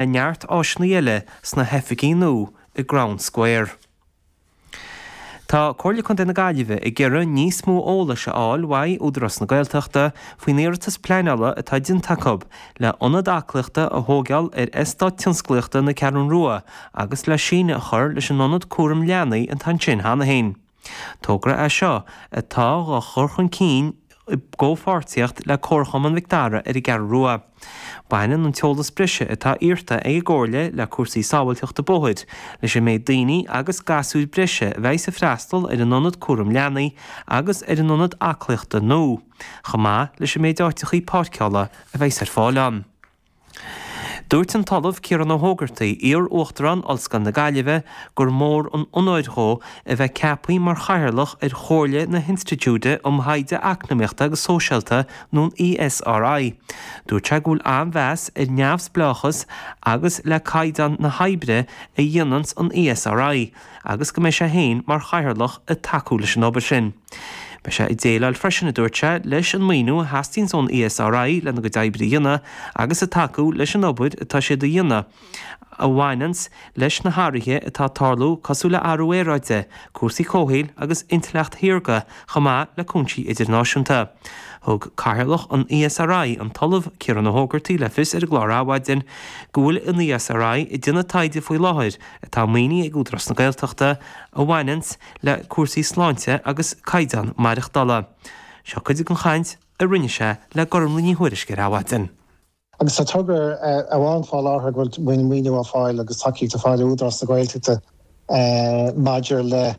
Le neart áiseanna eile sna hoifigí nua i gCrown Square. Tá Comhairle Contae na Gaillimhe ag iarraidh níos mó eolais a fháil uaidh Údarás na Gaeltachta faoin iarratas pleanála atá déanta acu le ionad aclaíochta a thóigeáil ar Eastát Tionsclaíochta na Ceathrún Rua agus le síneadh a chur leis an ionad cúram leanaí atá ansin cheana féin. Togra é seo atá á chur chun cinn i gcomhpháirtíocht le Comharchumann Mhic Dara ar an gCeathrú Rua. Baineann an t-eolas breise atá iarrta ag an gComhairle le cúrsaí sábháilteachta bóthair, leis an méid daoine agus gasúir breise a bheidhs ag freastal ar an ionad cúram leanaí agus ar an ionad aclaíochta nua, chomh maith leis an méid áiteachaí páirceála a bheidhs ar fáil ann. Dúirt an tOllamh Ciarán Ó hÓgartaigh, iar-Uachtarán Ollscoil na Gaillimhe, gur mór an onóir dhó a bheith ceaptha mar Chathaoirleach ar Chomhairle na hInstitiúide um Thaighde Eacnamaíochta agus Sóisialta nó an ESRI. Dúirt sé go bhfuil an-mheas ar neamhspleáchas agus le caighdeán na hoibre a dhéananns an ESRI agus go mbeidh sé féin mar Chathaoirleach ag tacú leis an obair sin. Beidh sé ag déileáil freisin, a dúirt sé, leis an maoiniú a theastaíonns ón ESRI lena gcuid oibre a dhéanamh agus ag tacú leis an obair atá siad a dhéanamh a bhaineanns leis na hathruithe atá ag tarlú cosúil le athrú aeráide, cúrsaí comhshaoil agus intleacht shaorga chomh maith le cúinsí idirnáisiúnta. Thug Cathaoirleach an ESRI, an tOllamh Ciarán Ó hÓgartaigh le fios ar an gclár Adhmhaidin go bhfuil an ESRI ag déanamh taighde faoi láthair atá maoinithe ag Údarás na Gaeltachta a bhaineanns le cúrsaí sláinte agus caighdeán maireachtála. Seo cuid den chaint a rinne sé le Gormlaith Ní Thuairisg ar Adhmhaidin. Agus tá togra amháin fá láthair go bhfuil maoiniú á fáil agus tacaíocht á fáil ó Údarás na Gaeltachta maidir le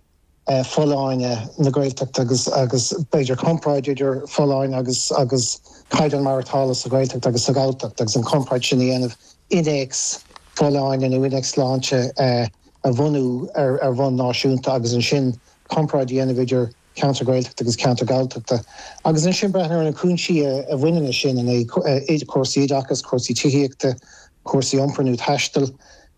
folláine na Gaeltachta agus agus b'fhéidir comparáid idir folláine agus agus caighdeán maireachtála sa Ghaeltacht agus sa Ghalltacht agus an comparáid sin a dhéanamh, innéacs folláine nó innéacs sláinte a bhunú ar bhonn náisiúnta agus ansin comparáid a dhéanamh idir ceantar Gaeltachta agus ceantar Galltachta agus ansin breathnú ar na cúinsí a bhaineann leis sin, cúrsaí oideachais, cúrsaí tithíochta, cúrsaí iompair nó taistil.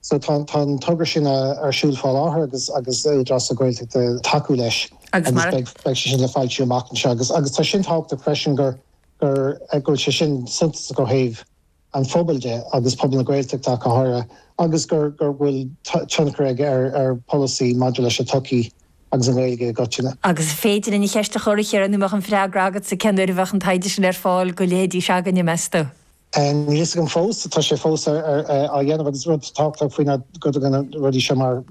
So tá an togra sin ar siúl fá láthair agus agus Údarás na Gaeltachta ag tacú leis agus beidh sé sin le foilsiú amach anseo agus agus tá sin tábhachtach freisin gur gur go bhfuil sé sin suntasach ó thaobh an phobail de, agus pobal na Gaeltachta ach go háirithe, agus gur go bhfuil tionchar aige ar pholasaí maidir leis an tsochaí agus an Ghaeilge i gcoitinne. Agus an féidir linn an cheist a chur, a Chiaráin, nó an mbeadh an freagra agatsa cén uair a bheadh an taighde sin ar fáil go leithéidí s'againne, meas tú? Níl a fhios agam fós. Tá sé fós á dhéanamh agus rud tábhachtach faoi ná go dtugann na rudaí seo mar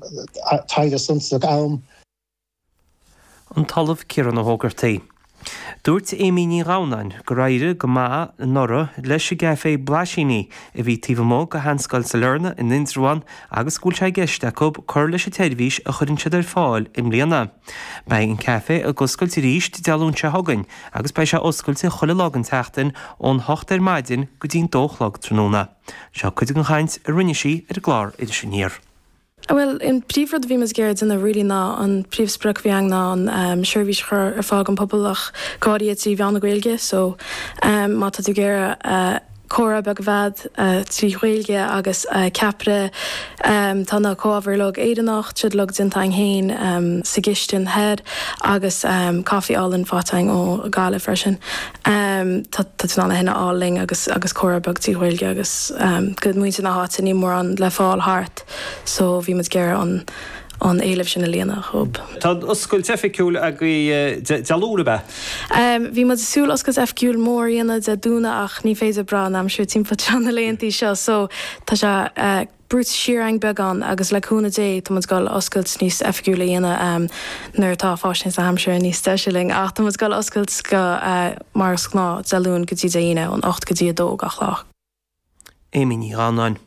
taighde suntasach am. An tOllamh Ciarán Ó hÓgartaigh. Dúirt Amy Ní Ghamhnáin gur éirigh go maith anuraidh leis an gcaifé Blaisíní a bhí taobh amuigh de Sheanscoil Sailearna in Indreabhán agus go bhfuil sé i gceist acu cur leis an tseirbhís a chuireann siad ar fáil i mbliana. Beidh an caifé ag oscailt arís Dé Luain seo chugainn agus beidh sé oscailte chuile lá den tseachtain ón hocht ar maidin go dtí'n dó a chlog tráthnóna. Seo cuid den chaint a rinne sí ar an gclár Iris Aniar. Bhuel, an príomhrud a bhí muid ag iarraidh déanamh really ná an príomhsprioc a bhí againn ná an seirbhís a chur ar fáil don pobal ach go háirithe trí mheán na Gaeilge so má tá tú ag iarraidh comhrá beag a bheith agat trí Ghaeilge agus ceapaire tá na comhábhair uilig Éireannach, tá siad uilig déanta againn féin sa gcistin thoir agus caife álainn faighte againn ó Ghaillimh freisin. Tá tú in ann é sin a fháil linn agus agus comhrá beag trí Ghaeilge agus go muintir na háite níl mórán le fáil thart. so bhí muid ag iarraidh an an éileamh sin a líonadh dhób. Tá an oscailt oifigiúil agaibh Dé Luain, ab ea? Bhí muid ag súil oscailt oifigiúil mór a dhéanamh Dé Domhnaigh ach ní féidir brath an aimsir timpeall tráth na laethanta seo so tá sé brúite siar againn beagán agus le cúnamh Dé tá muid ag dul oscailt níos oifigiúil a dhéanamh nuair atá fáisnéis na haimsire níos deise linn ach tá muid ag dul oscailt go mar is gnáth Dé Luain go dtí Dé hAoine ón 8 go dtí 2 gach lá. Amy Ní Ghamhnáin.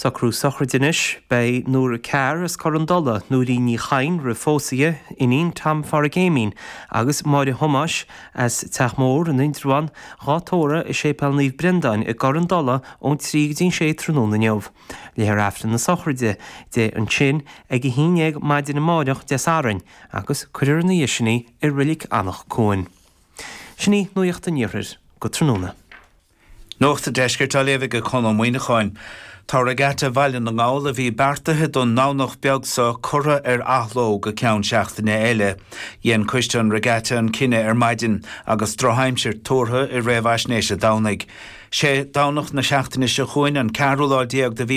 Socrú sochraide anois. Beidh Nóra Carr as Corr an Dola, Nóirín Ní Chadhain roimh phósadh di, iníon Tom Pháraic Éimín, agus Máire Thomáis as Teach Mór in Indreabhán, dhá tórramh i Séipéal Naomh Brendáin i gCorr an Dola ón 3 go dtí an 6 tráthnóna inniu. Léifear Aifreann na sochraide di ansin ag 11 maidin amáireach Dé Sathairn agus cuirfear ina dhiaidh sin í i Reilig Anach Cuain. Sin í Nuacht an Iarthair go tráthnóna. Nuacht an Deiscirt á léamh ag Conn Ó Muíneacháin. Tá Regatta Bhaile na nGall a bhí beartaithe don nDomhnach beag seo curtha ar athló go ceann seachtaine eile. Dhein coiste an Regatta an cinneadh ar maidin agus drochaimsir tuartha i réamhaisnéis an Domhnaigh. Sé Domhnach na seachtaine seo chugainn, an ceathrú lá de mhí.